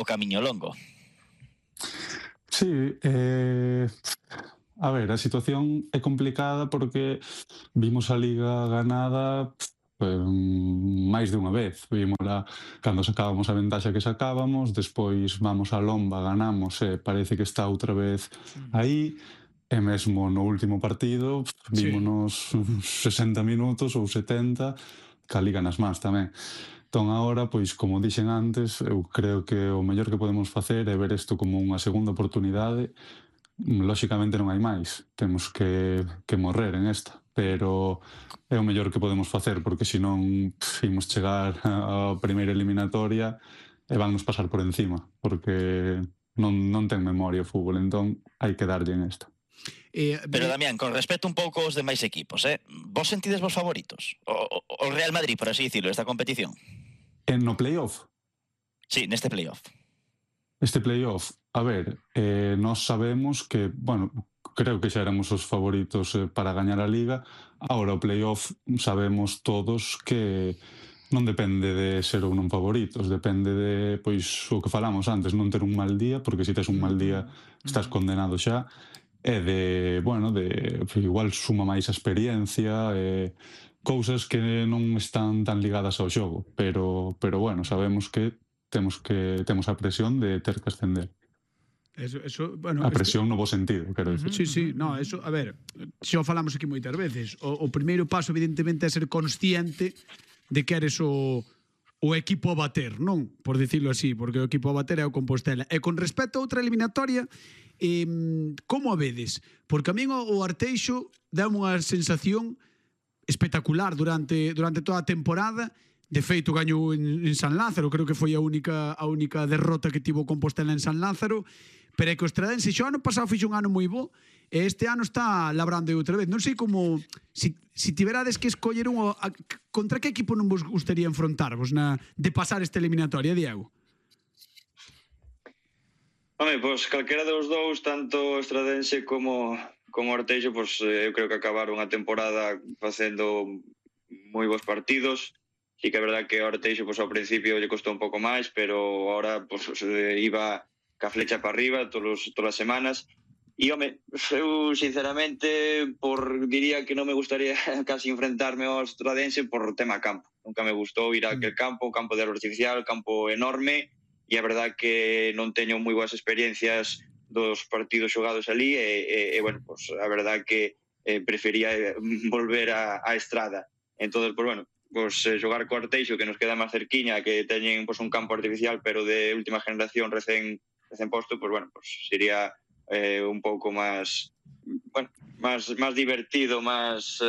o camiño longo. Sí, a ver, a situación é complicada porque vimos a Liga ganada máis de unha vez. Vímola cando sacábamos a ventaxa que sacábamos, despois vamos a Lomba, ganamos e parece que está outra vez aí, e mesmo no último partido vímonos 60 minutos ou 70 ca Liga nas mans tamén. Entón, agora, pois, como dixen antes, eu creo que o mellor que podemos facer é ver isto como unha segunda oportunidade. Lóxicamente non hai máis, temos que morrer en esta, pero é o mellor que podemos facer, porque senón imos chegar á primeira eliminatoria e vannos pasar por encima, porque non ten memoria o fútbol, entón hai que darlle en esta. Pero, Damián, con respecto un pouco aos demais equipos, vos sentides vos favoritos? O Real Madrid, por así dicirlo, esta competición? No playoff? Sí, neste playoff. Este playoff, a ver, nós sabemos que, bueno, creo que xa éramos os favoritos para gañar a Liga. Ahora o playoff sabemos todos que non depende de ser ou non favoritos, depende de, pois, o que falamos antes, non ter un mal día, porque se tes un mal día estás condenado xa, e de, bueno, de igual suma máis a experiencia, cousas que non están tan ligadas ao xogo, pero bueno, sabemos que temos a presión de ter que ascender. Bueno, a presión no bo sentido, quero dicir. Sí, no, eso, a ver, xa o falamos aquí moitas veces. O primeiro paso, evidentemente, é ser consciente de que eres o equipo a bater, non? Por dicirlo así, porque o equipo a bater é o Compostela. E con respecto a outra eliminatoria, como a vedes? Porque a min o Arteixo dá unha sensación espectacular durante toda a temporada. De feito, gañou en San Lázaro, creo que foi a única derrota que tivo Compostela en San Lázaro, pero é que o Estradense xo ano pasado fixo un ano moi bo, e este ano está labrando outra vez. Non sei como, si tiverades que escoller contra que equipo non vos gustaría enfrontarvos de pasar esta eliminatoria, Diego? Home, pois calquera dos dous, tanto Estradense como Arteixo, pois eu creo que acabaron a temporada facendo moi bons partidos. Sí que é verdad que o Arteixo pois ao principio lle costou un pouco máis, pero ahora pois iba ca flecha para arriba todas as semanas. E, home, eu sinceramente diría que non me gustaría casi enfrentarme ao Estradense por tema campo. Nunca me gustou ir a aquel campo de árbol artificial, campo enorme, e a verdad que non teño moi boas experiencias dos partidos xogados ali e bueno, pues, a verdad que prefería volver a Estrada. Entón, pues bueno, pues xogar co Arteixo, que nos queda máis cerquiña, que teñen pues, un campo artificial pero de última generación recén posto, pues bueno, pues sería un pouco máis, bueno, máis divertido, máis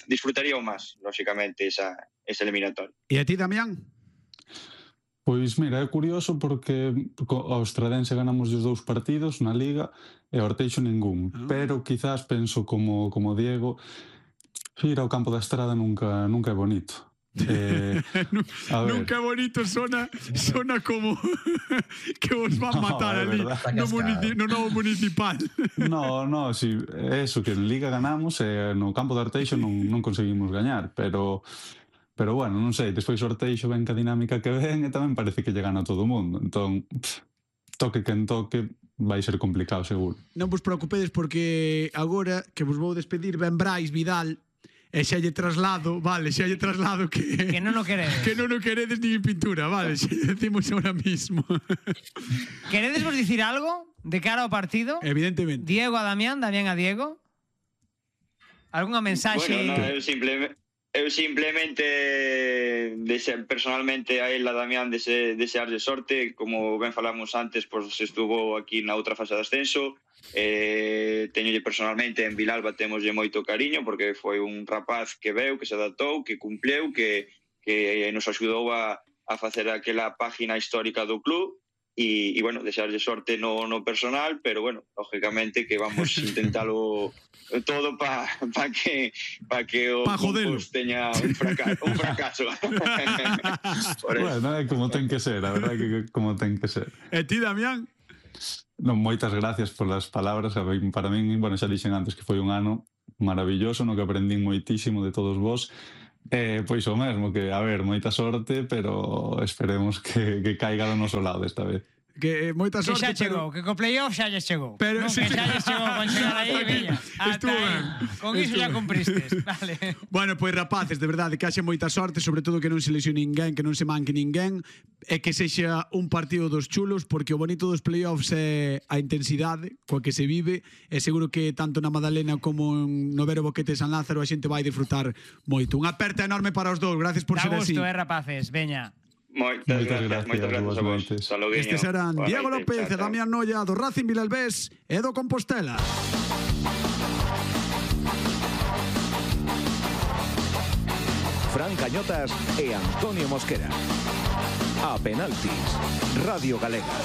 disfrutaría máis, lógicamente, esa eliminatoria. E a ti, Damián? Pois mira, é curioso porque ao Estradense ganamos os dous partidos na Liga e ao Arteixo ningún, pero quizás penso como Diego, ir ao campo da Estrada nunca é bonito. Nunca é bonito, sona como que vos van matar ali no novo municipal. No, si, eso, que en Liga ganamos e no campo do Arteixo non conseguimos gañar, pero bueno, non sei, despois o Arteixo ven ca dinámica que ven e tamén parece que lle gana a todo o mundo. Entón, toque quen toque, vai ser complicado, seguro. Non vos preocupedes porque agora que vos vou despedir ben Brais Vidal e xa lle traslado que non o queredes. Que non o queredes nin en pintura, vale, xa decimos ahora mismo. Queredes vos dicir algo de cara ao partido? Evidentemente. Diego a Damián, Damián a Diego? Algunha mensaxe? Bueno, eu simplemente personalmente a él, a Damián, desearlle sorte. Como ben falamos antes, pois estuvo aquí na outra fase de ascenso. Teñolle personalmente en Vilalba, temoslle moito cariño porque foi un rapaz que veu, que se adaptou, que cumpleu, que nos axudou a facer aquela página histórica do club. E bueno, desearlle sorte no personal, pero bueno, lógicamente que vamos a intentalo todo para que o Compos teña un fracaso. Bueno, é como ten que ser, a verdade que como ten que ser. E ti, Damián? Non, moitas gracias polas palabras. Para min, bueno, xa dixen antes que foi un ano maravilloso no que aprendín moitísimo de todos vos. Pois o mesmo, que, a ver, moita sorte, pero esperemos que caiga do noso lado esta vez. Que moita Que sorte, xa chegou, que co playoff xa lles chegou. Pero- Non, sí, que sí. xa lles chegou con chegar aí, viña. Estuvo ben. Con iso Estuvo xa ben. cumpristes. Vale. Bueno, pois rapaces, de verdade, que haxe moita sorte, sobre todo que non se lesione ninguén, que non se manque ninguén, e que sexa un partido dos chulos, porque o bonito dos playoffs é a intensidade coa que se vive, e seguro que tanto na Madalena como no Vero Boquete San Lázaro a xente vai disfrutar moito. Unha aperta enorme para os dous, gracias por Da ser así. gusto, rapaces, veña. Moitas Moitas gracias a vos. igualmente. Hasta loguiño. Estes eran Boa Diego noite. López e Chao, chao. Damián Noia do Racing Vilalbés e do Compostela. Fran Cañotas e Antonio Mosquera. A penaltis, Radio Galega.